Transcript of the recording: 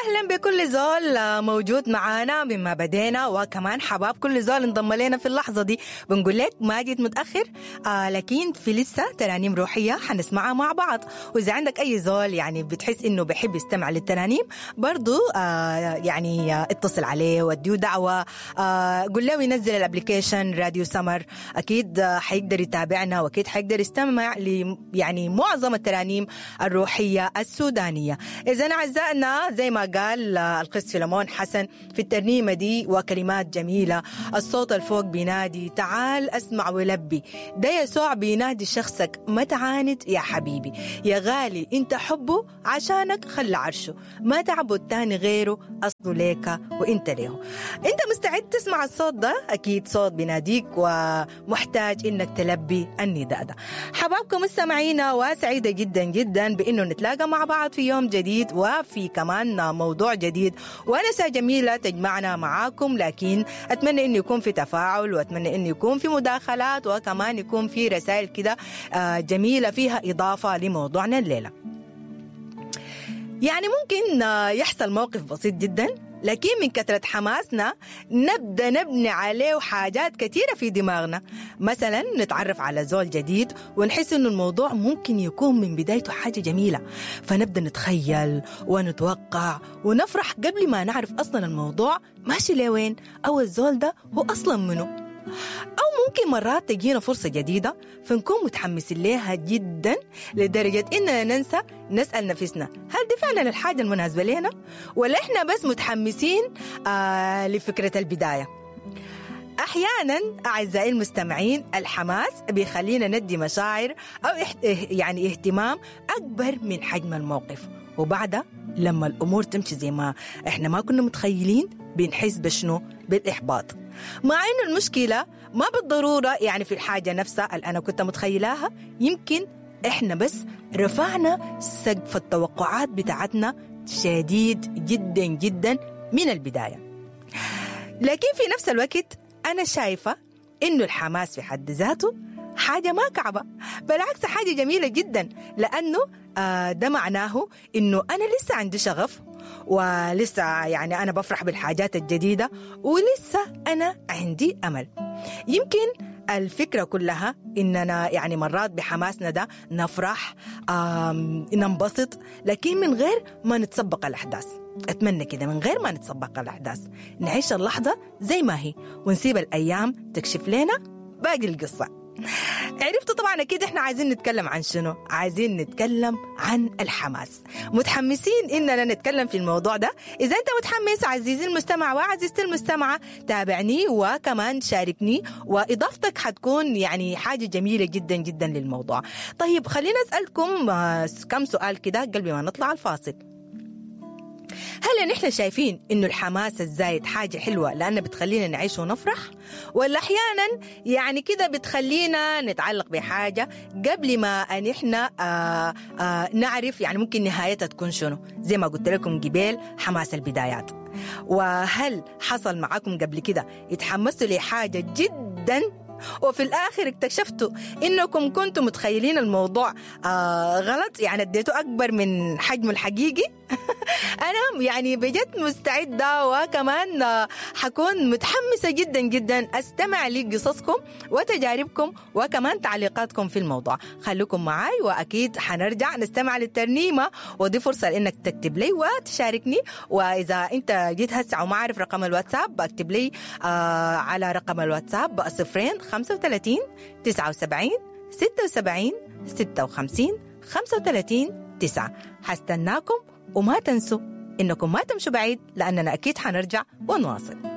اهلا بكل زول موجود معانا مما بدينا، وكمان حباب كل زول انضم لنا في اللحظة دي. بنقول لك ما جيت متاخر، لكن في لسه ترانيم روحية حنسمعها مع بعض. واذا عندك اي زول يعني بتحس انه بحب يستمع للترانيم برضو، يعني اتصل عليه واديه دعوه، قول له ينزل ال application راديو سمر، اكيد حيقدر يتابعنا واكيد حيقدر يستمع ل يعني معظم الترانيم الروحية السودانية. اذا اعزائنا زي ما قال القس فيلمون حسن في الترنيمة دي وكلمات جميلة، الصوت الفوق بينادي تعال اسمع ولبي، ده يسوع بينادي شخصك ما تعاند يا حبيبي، يا غالي انت حبه عشانك خلى عرشه، ما تعبد تاني غيره اصله ليك وانت ليه. انت مستعد تسمع الصوت ده؟ اكيد صوت بيناديك ومحتاج انك تلبي النداء ده. حبابكم مستمعينا، وسعيدة جدا جدا بانه نتلاقى مع بعض في يوم جديد وفي كمان موضوع جديد ونسة جميلة تجمعنا معاكم. لكن أتمنى إنه يكون في تفاعل، وأتمنى إنه يكون في مداخلات، وكمان يكون في رسائل كده جميلة فيها إضافة لموضوعنا الليلة. يعني ممكن يحصل موقف بسيط جدا، لكن من كثرة حماسنا نبدأ نبني عليه حاجات كثيرة في دماغنا. مثلا نتعرف على زول جديد ونحس إنه الموضوع ممكن يكون من بدايته حاجة جميلة، فنبدأ نتخيل ونتوقع ونفرح قبل ما نعرف أصلا الموضوع ماشي لوين أو الزول ده هو أصلا منه. أو ممكن مرات تجينا فرصة جديدة فنكون متحمسين لها جدا لدرجة إننا ننسى نسأل نفسنا هل دي فعلا الحاجة المناسبة لنا، ولا إحنا بس متحمسين لفكرة البداية. أحيانا أعزائي المستمعين الحماس بيخلينا ندي مشاعر أو يعني اهتمام أكبر من حجم الموقف، وبعدها لما الأمور تمشي زي ما إحنا ما كنا متخيلين بنحس بشنو؟ بالإحباط. مع إنه المشكلة ما بالضرورة يعني في الحاجة نفسها اللي أنا كنت متخيلاها، يمكن إحنا بس رفعنا سقف التوقعات بتاعتنا شديد جدا جدا من البداية. لكن في نفس الوقت أنا شايفة إنه الحماس في حد ذاته حاجة ما كعبة، بالعكس حاجة جميلة جدا، لأنه ده معناه إنه أنا لسه عندي شغف، ولسه يعني أنا بفرح بالحاجات الجديدة، ولسه أنا عندي أمل. يمكن الفكرة كلها إننا يعني مرات بحماسنا ده نفرح، ننبسط، لكن من غير ما نتسبق الأحداث. أتمنى كده من غير ما نتسبق الأحداث نعيش اللحظة زي ما هي ونسيب الأيام تكشف لنا باقي القصة. عرفتوا طبعا أكيد إحنا عايزين نتكلم عن شنو؟ عايزين نتكلم عن الحماس. متحمسين إننا نتكلم في الموضوع ده؟ إذا أنت متحمس عزيزي المستمع وعزيزتي المستمعة تابعني وكمان شاركني، وإضافتك حتكون يعني حاجة جميلة جدا جدا للموضوع. طيب خلينا أسألكم كم سؤال كده قبل ما نطلع الفاصل. هل نحن شايفين إنه الحماس الزايد حاجة حلوة لأنها بتخلينا نعيش ونفرح، ولا أحيانا يعني كده بتخلينا نتعلق بحاجة قبل ما نحن نعرف يعني ممكن نهايتها تكون شنو؟ زي ما قلت لكم قبل حماس البدايات. وهل حصل معاكم قبل كده اتحمستوا لحاجة جدا وفي الآخر اكتشفتوا إنكم كنتم متخيلين الموضوع غلط، يعني اديته أكبر من حجمه الحقيقي؟ أنا يعني بجد مستعدة وكمان حكون متحمسة جدا جدا أستمع لقصصكم وتجاربكم وكمان تعليقاتكم في الموضوع. خليكم معاي وأكيد حنرجع نستمع للترنيمة، ودي فرصة لأنك تكتب لي وتشاركني. وإذا أنت جيت هسه وما عارف رقم الواتساب اكتب لي على رقم الواتساب 0 35 79 76 56 35 9. حستناكم وما تنسوا إنكم ما تمشوا بعيد لأننا أكيد حنرجع ونواصل.